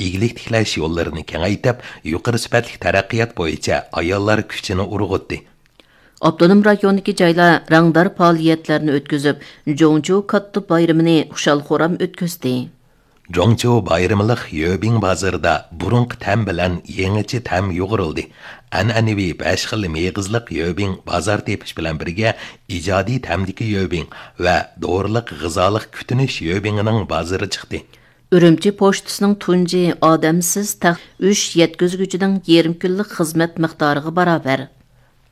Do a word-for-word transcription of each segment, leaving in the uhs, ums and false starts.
ئىگىلىك تىكلەش يوللىرىنى كېڭەيتىپ، يۇقىرى سۈپەتلىك تەرەققىيات بويىچە ئاياللار كۈچىنى ئۇرغۇتتى. ئاپتونوم رايوندىكى جايلار رەڭدار پائالىيەتلەرنى ئۆتكۈزۈپ، جوڭچۇ كاتتا بايرىمىنى خۇشال-خۇرام ئۆتكۈزدى. جوڭچۇ بايرىملىق يۆبىڭ بازىرىدا بۇرۇنقى تەم بىلەن يېڭىچە تەم يۇغۇرۇلدى. ئەنئەنىۋى بەش خىل مېغىزلىق يۆبىڭ بازار تېپىش بىلەن بىرگە، ئىجادىي تەمدىكى يۆبىڭ ۋە دورىلىق غىزالىق كۈتۈنۈش يۆبىڭىنىڭ بازىرى چىقتى. ئۈرۈمچى پوچتىسىنىڭ تۇنجى ئادەمسىز تەخت ئۈچ يەتكۈزگۈچىنىڭ يېرىم كۈنلۈك خىزمەت مىقدارىغا باراۋەر.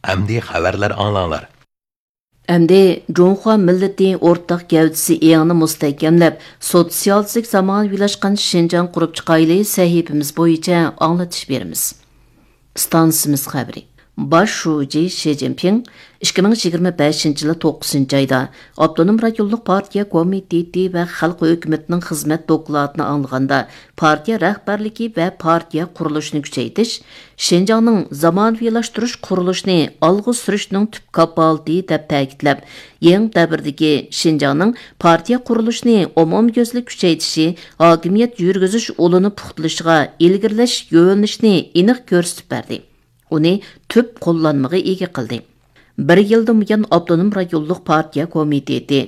ئەمدى خەۋەرلەر ئاڭلاڭلار. ئەمدى جۇڭخۇا مىللىتى ئورتاق گەۋدىسى ئېڭىنى مۇستەھكەملەپ، سوتسىيالىستىك زامانىۋىلاشقان شىنجاڭ قۇرۇپ چىقايلى سەھىپىمىز بويىچە ئاڭلىتىش بېرىمىز. ئىستانسىمىز خەۋىرى. باش شۇجى شى جىنپىڭ ئىككى مىڭ يىگىرمە بەشىنچى يىلى توققۇزىنچى ئايدا ئاپتونوم رايونلۇق پارتىيە كومىتېتى ۋە خەلق ھۆكۈمىتىنىڭ خىزمەت دوكلاتىنى ئاڭلىغاندا، پارتىيە رەھبەرلىكى ۋە پارتىيە قۇرۇلۇشىنى كۈچەيتىش، شىنجاڭنىڭ زامانىۋىلاشتۇرۇش قۇرۇلۇشىنى ئالغا سۈرۈشنىڭ تۈپ كاپالىتى دەپ تەكىتلەپ، يېڭى دەۋردىكى شىنجاڭنىڭ پارتىيە قۇرۇلۇشىنى ئومۇميۈزلۈك كۈچەيتىشى، ھاكىمىيەت يۈرگۈزۈش ئۇلىنى پۇختىلىشىغا ئىلگىرىلەش يۆنىلىشىنى ئېنىق كۆرسىتىپ بەردى. ئۇنى تۈپ قوللانمىغا ئىگە قىلدى. بىر يىلدىن بۇيان، ئاپتونوم رايونلۇق پارتىيە كومىتېتى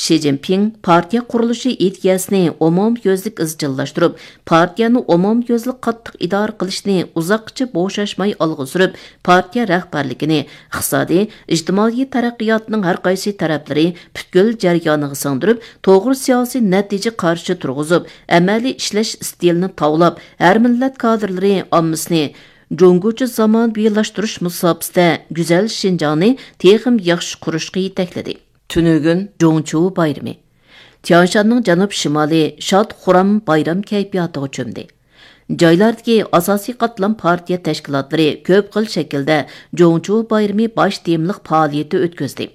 شى جىنپىڭ پارتىيە قۇرۇلۇشى ئىدىيەسىنى ئومۇميۈزلۈك ئىزچىللاشتۇرۇپ، پارتىيەنى ئومۇميۈزلۈك قاتتىق ئىدارە قىلىشنى ئۇزاققىچە بوشاشماي ئالغا سۈرۈپ، پارتىيە رەھبەرلىكىنى ئىقتىسادىي، ئىجتىمائىي تەرەققىياتنىڭ ھەر قايسى تەرەپلىرى پۈتكۈل جەريانىغا سىڭدۈرۈپ، توغرا سىياسىي نەتىجە قارىشى تۇرغۇزۇپ، ئەمەلىي ئىشلەش ئىستىلىنى تاۋلاپ، ھەر مىللەت كادىرلىرى ئاممىسىنى جۇڭگوچە زامانىۋىلاشتۇرۇش مۇساپىسىدە گۈزەل شىنجاڭنى تېخىمۇ ياخشى قۇرۇشقا يېتەكلىدى. تۈنۈگۈن جۇڭچۇ بايرىمى. تيانشاننىڭ جەنۇب شىمالى شاد-خۇرام بايرام كەيپىياتىغا چۆمدى. جايلاردىكى ئاساسىي قاتلام پارتىيە تەشكىلاتلىرى كۆپ خىل شەكىلدە جۇڭچۇ بايرىمى باش تېمىلىق پائالىيىتى ئۆتكۈزدى.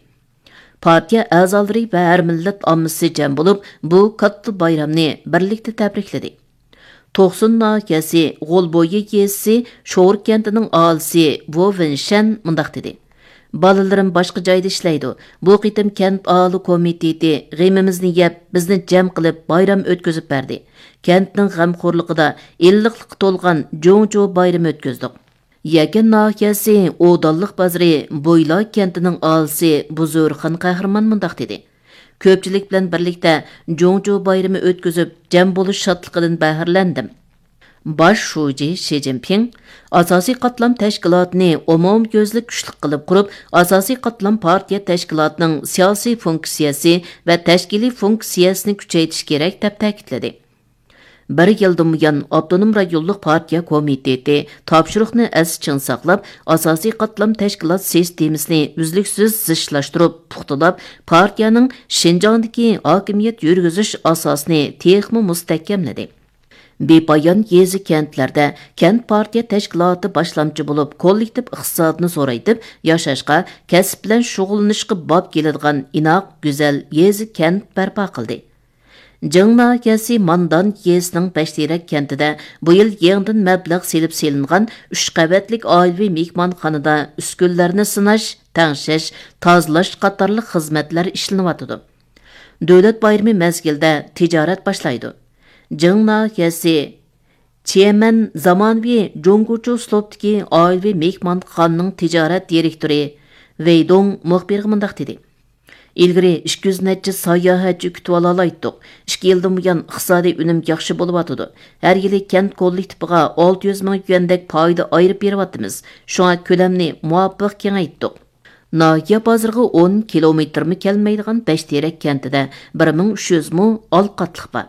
پارتىيە ئەزالىرى ۋە ھەر مىللەت ئاممىسى جەم بولۇپ، بۇ كاتتا بايرامنى بىرلىكتە تەبرىكلىدى. توقسۇن ناھىيەسى غولبويى يېزىسى شور كەنتىنىڭ ئاھالىسى ۋو ۋېنشەن مۇنداق دېدى: «بالىلىرىم باشقا جايدا ئىشلەيدۇ. بۇ قېتىم كەنت ئاھالە كومىتېتى غېمىمىزنى يەپ، بىزنى جەم قىلىپ، بايرام ئۆتكۈزۈپ بەردى. كەنتنىڭ غەمخورلۇقىدا ئىللىقلىققا تولغان جۇڭچۇ بايرىمى ئۆتكۈزدۇق.» يەكەن ناھىيەسى ئودانلىق بازىرى بويلا كەنتىنىڭ ئاھالىسى بۇزۇرخان قەھرىمان مۇنداق دېدى: «كۆپچىلىك بىلەن بىرلىكتە جۇڭجۇ بايرىمى ئۆتكۈزۈپ، جەم بولۇش شادلىقىدىن بەھرىلەندىم.» باش شۇجى شى جىنپىڭ ئاساسىي قاتلام تەشكىلاتىنى ئومۇميۈزلۈك كۈچلۈك قىلىپ قۇرۇپ، ئاساسىي قاتلام پارتىيە تەشكىلاتىنىڭ سىياسىي فۇنكسىيەسى ۋە تەشكىلىي فۇنكسىيەسىنى كۈچەيتىش كېرەك، دەپ تەكىتلىدى. بىر يىلدىن بۇيان، ئاپتونوم رايونلۇق پارتىيە كومىتېتى تاپشۇرۇقنى ئەستە چىڭ ساقلاپ، ئاساسىي قاتلام تەشكىلات سىستېمىسىنى ئۈزلۈكسىز زىچلاشتۇرۇپ، پۇختىلاپ، پارتىيەنىڭ شىنجاڭدىكى ھاكىمىيەت يۈرگۈزۈش ئاساسىنى تېخىمۇ مۇستەھكەملىدى. بىپايان يېزا، كەنتلەردە كەنت پارتىيە تەشكىلاتى باشلامچى بولۇپ، كوللېكتىپ ئىقتىسادنى زورايتىپ، ياشاشقا، كەسىپ بىلەن شۇغۇللىنىشقا باب كېلىدىغان ئىناق، گۈزەل يېزا، كەنت بەرپا قىلدى. جىڭ ناھىيەسى ماندان يېزىسىنىڭ بەشتېرەك كەنتىدە بۇ يىل يېڭىدىن مەبلەغ سېلىپ سېلىنغان ئۈچ قەۋەتلىك ئائىلىۋى مېھمانخانىدا ئۈسكۈنىلەرنى سىناش، تەڭشەش، تازىلاش قاتارلىق خىزمەتلەر ئىشلىنىۋاتىدۇ. دۆلەت بايرىمى مەزگىلىدە تىجارەت باشلايدۇ. جىڭ ناھىيەسى چيەنمەن زامانىۋى جۇڭگوچۇ ئۇسلۇبتىكى ئائىلىۋى مېھمانخانىنىڭ تىجارەت دىرېكتورى ۋېي دۇڭ مۇخبىرغا مۇنداق دېدى: «ئىلگىرى ئىككى يۈز نەچچە ساياھەتچى كۈتۈۋالالايتتۇق. ئىككى يىلدىن بۇيان ئىقتىسادىي ئۈنۈم ياخشى بولۇۋاتىدۇ. ھەر يىلى كەنت كوللېكتىپىغا ئالتە يۈز مىڭ يۈەندەك پايدا ئايرىپ بېرىۋاتىمىز. شۇڭا كۆلەمنى مۇۋاپىق كېڭەيتتۇق.» ناھىيە بازىرىغا ئون كىلومېتىرمۇ كەلمەيدىغان بەشتېرەك كەنتىدە بىر مىڭ ئۈچ يۈز مو ئالقاتلىق بار.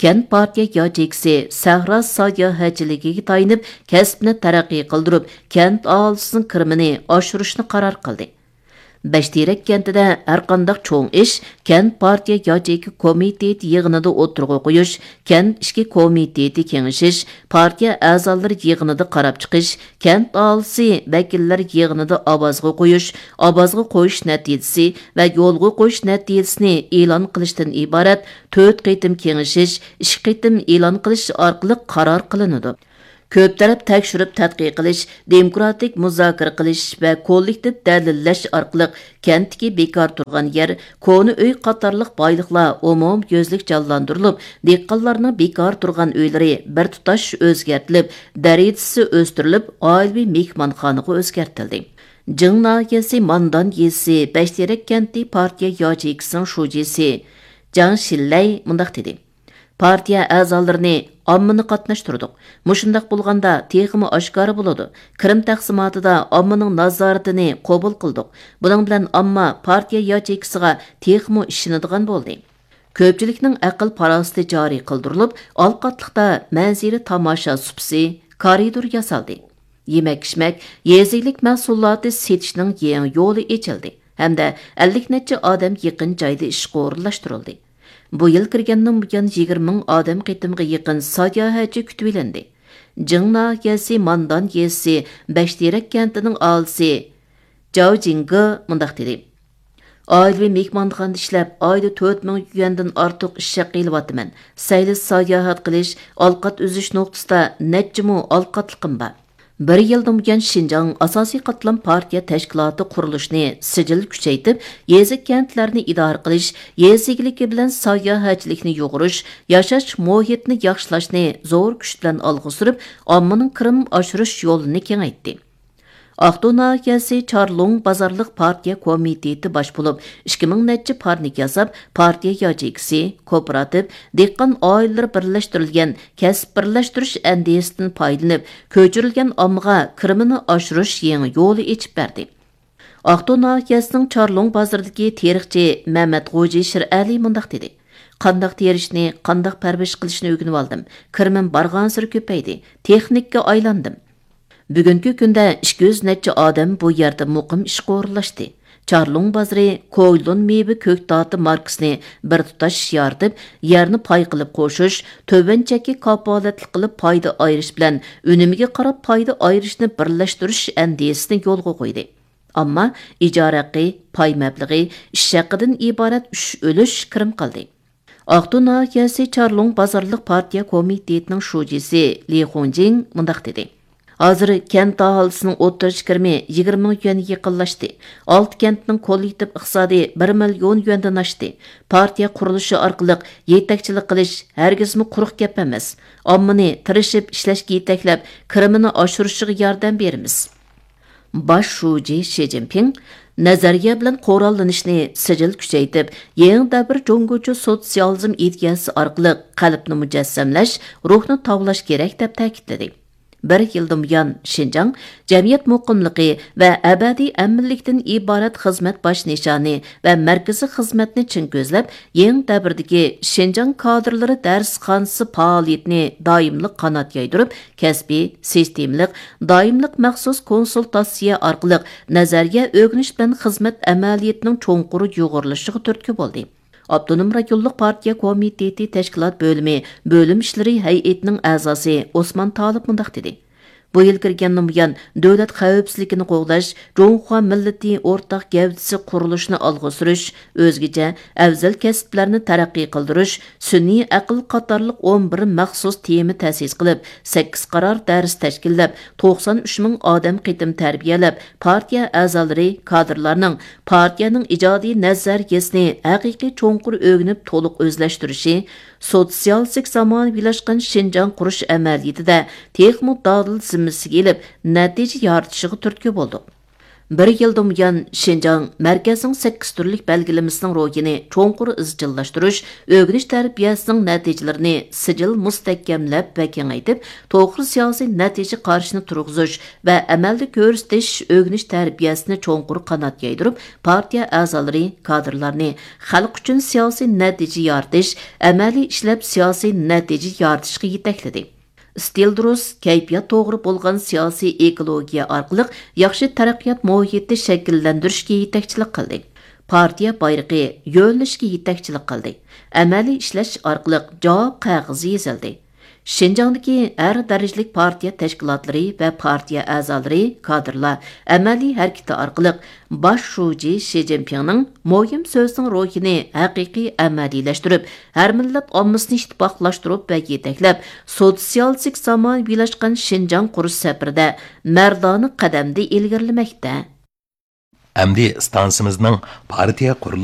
كەنت پارتىيە ياچېيكىسى سەھرا ساياھەتچىلىكىگە تايىنىپ، كەسىپنى تەرەققىي قىلدۇرۇپ، كەنت ئاھالىسىنىڭ كىرىمىنى ئاشۇرۇشنى قارار قىلدى. بەشتېرەك كەنتىدە ھەرقانداق چوڭ ئىش كەنت پارتىيە ياچېيكا كومىتېتى يىغىنىدا ئوتتۇرىغا قويۇش، كەنت ئىچكى كومىتېتى كېڭىشىش، پارتىيە ئەزالىرى يىغىنىدا قاراپ چىقىش، كەنت ئاھالىسى ۋەكىللەر يىغىنىدا ئاۋازغا قويۇش، ئاۋازغا قويۇش نەتىجىسى ۋە يولغا قويۇش نەتىجىسىنى ئېلان قىلىشتىن ئىبارەت تۆت قېتىم كېڭىشىش، ئىككى قېتىم ئېلان قىلىش ئارقىلىق قارار قىلىنىدۇ. كۆپ تەرەپ تەكشۈرۈپ تەتقىق قىلىش، دېموكراتىك مۇزاكىرە قىلىش ۋە كوللېكتىپ دەلىللەش ئارقىلىق كەنتتىكى بىكار تۇرغان يەر، كونا ئۆي قاتارلىق بايلىقلار ئومۇميۈزلۈك جانلاندۇرۇلۇپ، دېھقانلارنىڭ بىكار تۇرغان ئۆيلىرى بىر تۇتاش ئۆزگەرتىلىپ، دەرىجىسى ئۆستۈرۈلۈپ، ئائىلىۋى مېھمانخانىغا ئۆزگەرتىلدى. جىڭ ناھىيەسى ماندان يېزىسى بەشتېرەك كەنتى پارتىيە ياچېيكىسىنىڭ شۇجىسى جاڭ شىنلەي مۇنداق دېدى: پارتىيە ئەزالىرىنى، ئاممىنى قاتناشتۇردۇق. مۇشۇنداق بولغاندا تېخىمۇ ئاشكارا بولىدۇ. قىرىم تەقسىماتىدا ئاممىنىڭ نازارىتىنى قوبۇل قىلدۇق. بۇنىڭ بىلەن ئامما پارتىيە ياچېيكىسىغا تېخىمۇ ئىشىنىدىغان بولدى. كۆپچىلىكنىڭ ئەقىل-پاراسىتى جارى قىلدۇرۇلۇپ، ئالقاتلىقتا مەنزىرە تاماشا سۇپىسى، كارىدور ياسالدى. يېمەك-ئىچمەك، يېزا ئىگىلىك مەھسۇلاتى سېتىشنىڭ يېڭى يولى ئېچىلدى ھەمدە ئەللىك نەچچە ئادەم يېقىن جايدا ئىشقا ئورۇنلاشتۇرۇلدى. بۇ يىل كىرگەندىن بۇيان يىگىرمە مىڭ ئادەم قېتىمغا يېقىن ساياھەتچى كۈتۈۋېلىندى. جىڭ ناھىيەسى ماندان يېزىسى بەشتېرەك كەنتىنىڭ ئاھالىسى جاۋ جىڭگې مۇنداق دېدى: ئائىلىۋى مېھمانخانىدا ئىشلەپ، ئايدا تۆت مىڭ يۈەندىن ئارتۇق ئىش ھەققى ئېلىۋاتىمەن. سەيلە ساياھەت قىلىش، ئالقات ئۈزۈش نۇقتىسىدا نەچچە مو ئالقاتلىقىم بار. بىر يىلدىن بۇيان شىنجاڭ ئاساسىي قاتلام پارتىيە تەشكىلاتى قۇرۇلۇشىنى سىجىل كۈچەيتىپ، يېزا، كەنتلەرنى ئىدارە قىلىش، يېزا ئىگىلىكى بىلەن ساياھەتچىلىكنى يۇغۇرۇش، ياشاش مۇھىتىنى ياخشىلاشنى زور كۈچ بىلەن ئالغا سۈرۈپ، ئاممىنىڭ كىرىم ئاشۇرۇش يولىنى كېڭەيتتى. ئاقتۇ ناھىيەسى چارلۇڭ بازارلىق پارتىيە كومىتېتى باش بولۇپ، ئىككى مىڭ نەچچە پارنىك ياساپ، پارتىيە ياچېيكىسى، كوپىراتىپ، دېھقان ئائىلىلىرى بىرلەشتۈرۈلگەن كەسىپ بىرلەشتۈرۈش ئەندىزىسىدىن پايدىلىنىپ، كۆچۈرۈلگەن ئاممىغا كىرىمىنى ئاشۇرۇش يېڭى يولى ئېچىپ بەردى. ئاقتۇ ناھىيەسىنىڭ چارلۇڭ بازىرىدىكى تېرىقچى مەمەت غوجى شىرئەلى مۇنداق دېدى: قانداق تېرىشنى، قانداق پەرۋىش قىلىشنى ئۆگىنىۋالدىم. كىرىمىم بارغانسېرى كۆپەيدى، تېخنىككا ئايلاندىم. بۈگۈنكى كۈندە ئىككى يۈز نەچچە ئادەم بۇ يەردە مۇقىم ئىشقا ئورۇنلاشتى. چارلۇڭ بازىرى كويلۇن مېۋە كۆكتاتى ماركىسىنى بىر تۇتاش يارىتىپ، يەرنى پاي قىلىپ قوشۇش، تۆۋەن چەككە كاپالەتلىك قىلىپ پايدا ئايرىش بىلەن ئۈنۈمىگە قاراپ پايدا ئايرىشنى بىرلەشتۈرۈش ئەندىزىسىنى يولغا قويدى. ئامما ئىجارە ھەققى، پاي مەبلىغى، ئىش ھەققىدىن ئىبارەت ئۈچ ئۈلۈش كىرىم قىلدى. ئاقتۇ ناھىيەسى چارلۇڭ بازارلىق پارتىيە كومىتېتىنىڭ شۇجىسى لى خۇنجىڭ مۇنداق دېدى: ھازىر كەنت ئاھالىسىنىڭ ئوتتۇرىچە كىرىمى يىگىرمە مىڭ يۈەنگە يېقىنلاشتى. ئالتە كەنتنىڭ كوللېكتىپ ئىقتىسادى بىر مىليون يۈەندىن ئاشتى. پارتىيە قۇرۇلۇشى ئارقىلىق يېتەكچىلىك قىلىش ھەرگىزمۇ قۇرۇق گەپ ئەمەس. ئاممىنى تىرىشىپ ئىشلەشكە يېتەكلەپ، كىرىمىنى ئاشۇرۇشىغا ياردەم بېرىمىز. باش شۇجى شى جىنپىڭ نەزەرىيە بىلەن قوراللىنىشنى سىجىل كۈچەيتىپ، يېڭى دەۋر جۇڭگوچە سوتسىيالىزم ئىدىيەسى ئارقىلىق قەلبنى مۇجەسسەملەش، روھنى تاۋلاش كېرەك، دەپ تەكىتلىدى. بىر يىلدىن بۇيان، شىنجاڭ جەمئىيەت مۇقىملىقى ۋە ئەبەدىي ئەمىنلىكتىن ئىبارەت خىزمەت باش نىشانى ۋە مەركىزىي خىزمەتنى چىڭ كۆزلەپ، يېڭى دەۋردىكى شىنجاڭ كادىرلىرى دەرسخانىسى پائالىيىتىنى دائىملىق قانات يايدۇرۇپ، كەسپىي، سىستېمىلىق، دائىملىق مەخسۇس كونسۇلتاتسىيە ئارقىلىق نەزەرىيە ئۆگىنىش بىلەن خىزمەت ئەمەلىيىتىنىڭ چوڭقۇر يۇغۇرۇلۇشىغا تۈرتكە بولدى. ئاپتونوم رايونلۇق پارتىيە كومىتېتى تەشكىلات بۆلۈمى بۆلۈم ئىشلىرى ھەيئىتىنىڭ ئەزاسى ئوسمان تالىپ مۇنداق دېدى: بۇ يىل كىرگەندىن بۇيان، دۆلەت خەۋپسىزلىكىنى قوغداش، جۇڭخۇا مىللىتى ئورتاق گەۋدىسى قۇرۇلۇشىنى ئالغا سۈرۈش، ئۆزگىچە ئەۋزەل كەسىپلەرنى تەرەققىي قىلدۇرۇش، سۈنئىي ئەقىل قاتارلىق ئون بىر مەخسۇس تېما تەسىس قىلىپ، سەككىز قارار دەرس تەشكىللەپ، توقسان ئۈچ مىڭ ئادەم قېتىم تەربىيەلەپ، پارتىيە ئەزالىرى، كادىرلارنىڭ پارتىيەنىڭ ئىجادىي نەزەرىيەسىنى ھەقىقىي چوڭقۇر ئۆگىنىپ، تولۇق ئۆزلەشتۈرۈشى، سوتسىيالىستىك زامانىۋىلاشقان شىنجاڭ قۇرۇش ئەمەلىيىتىدە تېخىمۇ دادىل زىممىسىگە ئېلىپ، نەتىجە يارىتىشىغا تۈرتكە بولدۇق. بىر يىلدىن بۇيان، شىنجاڭ مەركەزنىڭ سەككىز تۈرلۈك بەلگىلىمىسىنىڭ روھىنى چوڭقۇر ئىزچىللاشتۇرۇش، ئۆگىنىش تەربىيەسىنىڭ نەتىجىلىرىنى سىجىل مۇستەھكەملەپ ۋە كېڭەيتىپ، توغرا سىياسىي نەتىجە قارىشىنى تۇرغۇزۇش ۋە ئەمەلدە كۆرسىتىش، ئۆگىنىش تەربىيەسىنى چوڭقۇر قانات يايدۇرۇپ، پارتىيە ئەزالىرى، كادىرلارنى خەلق ئۈچۈن سىياسىي نەتىجە يارىتىش، ئەمەلىي ئىشلەپ سىياسىي نەتىجە يارىتىشقا يېتەكلىدى. ئىستىل دۇرۇس، كەيپىيات توغرا بولغان سىياسىي ئېكولوگىيە ئارقىلىق ياخشى تەرەققىيات مۇھىتى شەكىللەندۈرۈشكە يېتەكچىلىك قىلدى. پارتىيە بايرىقى يۆنىلىشكە يېتەكچىلىك قىلدى. ئەمەلىي ئىشلەش ئارقىلىق جاۋاب قەغىزى يېزىلدى. شىنجاڭدىكى ھەر دەرىجىلىك پارتىيە تەشكىلاتلىرى ۋە پارتىيە ئەزالىرى، كادىرلار ئەمەلىي ھەرىكىتى ئارقىلىق باش شۇجى شى جىنپىڭنىڭ مۇھىم سۆزىنىڭ روھىنى ھەقىقىي ئەمەلىيلەشتۈرۈپ، ھەر مىللەت ئاممىسىنى ئىتتىپاقلاشتۇرۇپ ۋە يېتەكلەپ، سوتسىيالىستىك زامانىۋىلاشقان شىنجاڭ قۇرۇش سەپىرىدە مەردانە قەدەمدە ئىلگىرىلىمەكتە. ئەمدى ئىستانسىمىزنىڭ پارتىيە